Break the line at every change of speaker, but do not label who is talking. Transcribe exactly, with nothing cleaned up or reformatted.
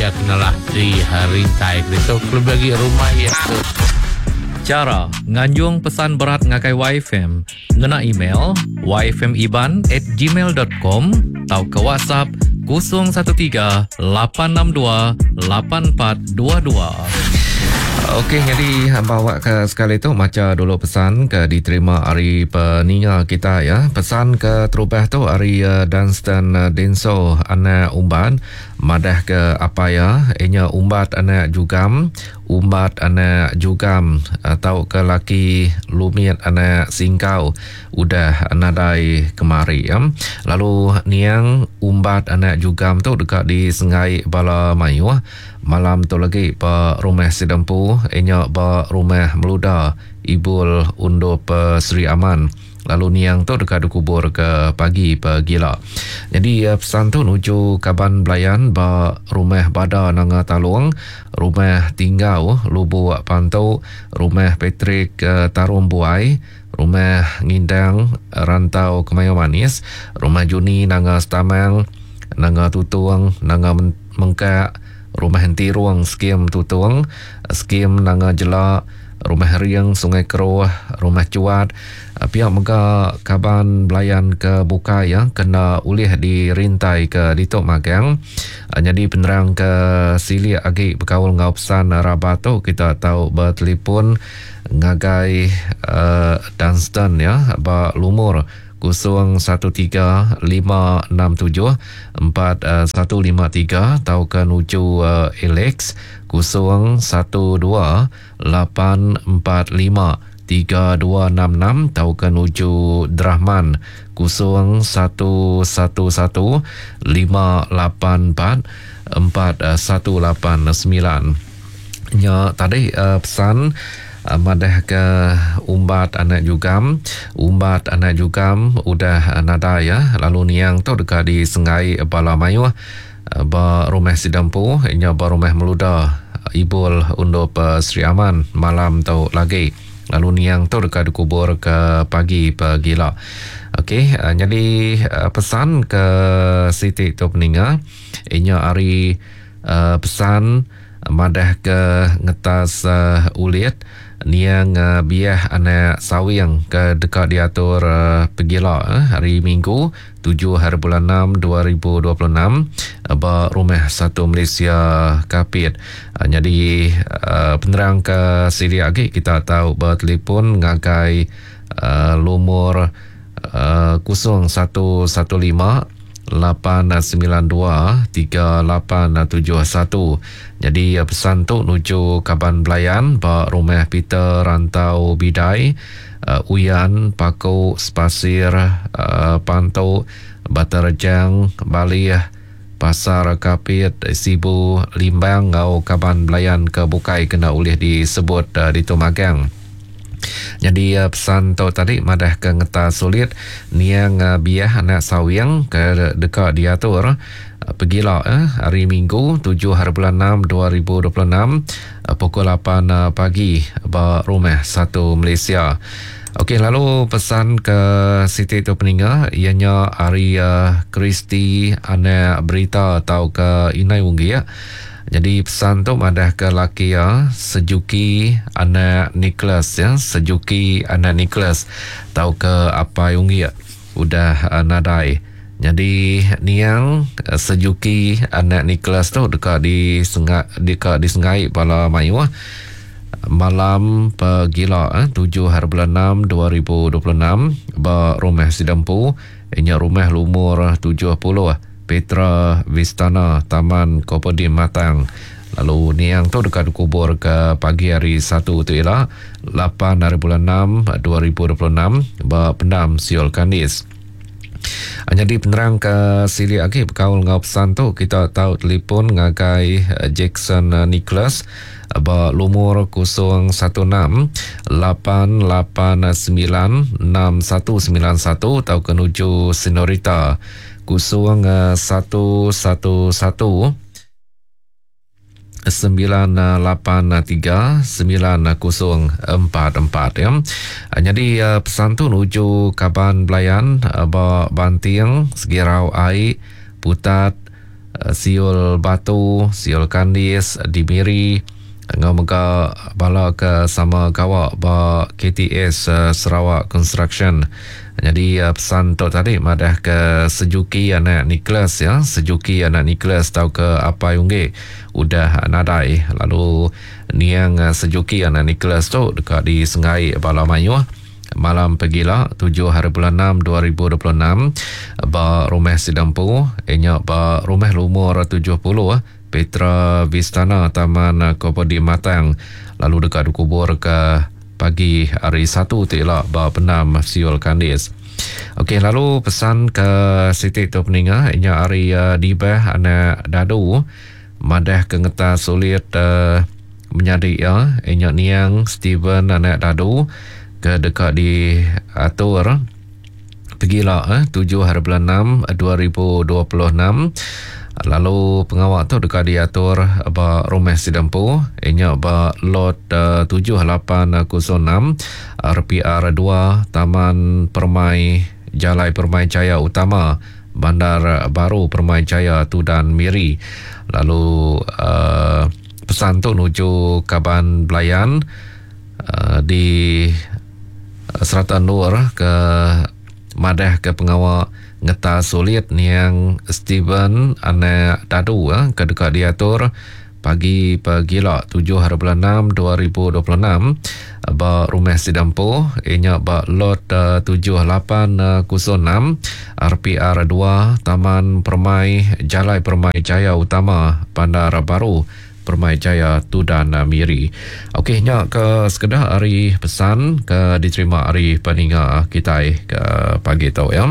iya kenalah di rintai itu kelebih lagi rumah iya tu.
Chara nganjung pesan berat ngagai Y F M ngena email y f m iban at gmail dot com tauka WhatsApp kosong satu tiga lapan enam dua lapan empat dua dua.
Okey, jadi bawa ke sekali tu maca dulu pesan ke diterima hari peninga kita ya. Pesan ke terubah tu hari uh, Dunstan uh, Denso anak Umban madah ke apa ya, inya umbat anak jugam, umbat anak jugam atau ke laki lumit anak singkau udah nadai kemari ya. Lalu niang umbat anak jugam tu dekat di Sengai Bala Mayuh. Malam tu lagi ba rumah Sidempu inya ba rumah Meluda Ibul Undup Sri Aman. Lalu niang tu dekat dikubur ke pagi pegila. Jadi pesan tu nuju kaban belayan ba rumah Bada Nanga Talung, rumah Tinggau Lubuk Pantu, rumah Patrick Tarum Buai, rumah Ngindang Rantau Kemayu Manis, rumah Juni Nanga Setamang, Nanga Tutung, Nanga Mengkak, rumah Entirung Skim Tutung, Skim Nanga Jelak, rumah Riang Sungai Keruh, rumah Cuat. Pihak mega kaban belayan ke bukai ya kena ulih dirintai ke Ditok Magang. Jadi penerang ke silik agi berkaul ngau pesan rabat tu kita tahu bertelefon ngagai uh, Dunstan ya ba lumur kosong satu tiga lima enam tujuh empat satu lima tiga atau ke nuju uh, Alex kosong satu dua lapan empat lima tiga dua enam enam atau ke nuju Drahman kosong satu satu satu lima lapan empat empat satu lapan sembilan. Nya tadi uh, pesan madah ke umbat anak jugam, umbat anak jugam udah nada ya. Lalu niang tu dekat di Sengai Bala Mayuh ba rumah Sidampu inya ba rumah Meluda Ibul Undup Sri Aman malam tu lagi. Lalu niang tu dekat dikubur ke pagi pegila. Okey, jadi pesan ke Siti tu peninga inya hari pesan madah ke ngetas uh, ulit niang uh, biah anak sawing ke dekat diatur uh, pegila uh, hari Minggu tujuh hari bulan enam dua ribu dua puluh enam uh, ba rumah Satu Malaysia Kapit. Uh, jadi uh, penerang ke sini lagi kita tahu bertelefon ngagai uh, lumur uh, kosong satu satu lima lapan sembilan dua tiga lapan tujuh satu. Jadi pesan tu nuju kaban belayan ba rumah Peter Rantau Bidai, uh, Uyan Paku Spasir, uh, Pantu Baterjang Balih Pasar Kapit Sibu Limbang ngau kaban belayan ke bukai kena ulih disebut uh, di Tumagang. Jadi uh, pesan tu tadi madah ke ngeta sulit niang uh, biah anak sawing ke dekat diatur uh, pegila eh, hari Minggu tujuh hari bulan enam dua ribu dua puluh enam uh, pukul lapan uh, pagi ba rumah Satu Malaysia. Okey, lalu pesan ke Siti tu peninga ianya hari uh, Kristi anak berita atau ke Inai Unggi ya. Jadi pesan tu madah ke laki ya, Sejuki anak Nicholas ya, Sejuki anak Nicholas tau ke apa Unggi ya, udah uh, nadai. Jadi niang uh, Sejuki anak Nicholas tu dekat di sengak dekat di Sengai Bala Mayuh malam pegila eh, tujuh hari bulan enam dua ribu dua puluh enam ba rumah Sidampu inya rumah lumur tujuh puluh Petra Vistana Taman Kopedim Matang. Lalu niang tu dekat dikubur ke pagi hari satu tu ialah lapan hari bulan enam dua ribu dua puluh enam ba pendam Siol Kandis. Jadi penerang ke silik lagi berkaul ngau pesan tu kita tahu telefon ngagai Jackson Nicholas ba lumur kosong satu enam lapan lapan sembilan enam satu sembilan satu atau ke nuju Senorita kosong satu satu satu sembilan lapan tiga sembilan kosong empat empat ya. Jadi pesan tu nuju kaban belayan ba Banting Segirau Ai Putat Siul Batu, Siul Kandis di Miri, ngau mega bala ke sama gawa ba K T S Sarawak Construction. Jadi pesan tu tadi madah ke Sejuki anak Nicholas ya, Sejuki anak Nicholas tau ke Apai Ungge udah nadai. Lalu niang Sejuki anak Nicholas tu dekat di Sengai bala mayuh malam pegila tujuh hari bulan enam dua ribu dua puluh enam ba rumah Sidampu, inya ba rumah lumur tujuh puluh Petra Vistana Taman Kopodi Matang, lalu dekat dikubur ke pagi hari satu tila ba Penam Siul Kandis. Okey, lalu pesan ke Siti tu peninga inya hari uh, dibah anak dadu madah ke ngetas sulit uh, menyadi ya inya niang Steven anak dadu ke dekat diatur pegila eh tujuh hari bulan enam dua ribu dua puluh enam. Lalu pengawak tu dekat diatur ba rumah Sidampu inya ba lot uh, tujuh lapan kosong enam R P R dua Taman Permai Jalai Permai Jaya Utama Bandar Baru Permai Jaya Tudan Miri. Lalu uh, pesan tu nuju Kaban Belayan uh, di Serata Nur ke madah ke pengawak ngetas sulit niang Steven anak dadu eh, ke dekat diatur pagi pegila tujuh hari bulan enam dua ribu dua puluh enam ba rumah Sidampu inya ba lot uh, tujuh lapan kosong enam R P R dua Taman Permai Jalai Permai Jaya Utama Bandar Baru Permai Jaya Tudan Miri. Okey, nya ke sekedah hari pesan ke diterima hari peninga kita ke pagi tu ya.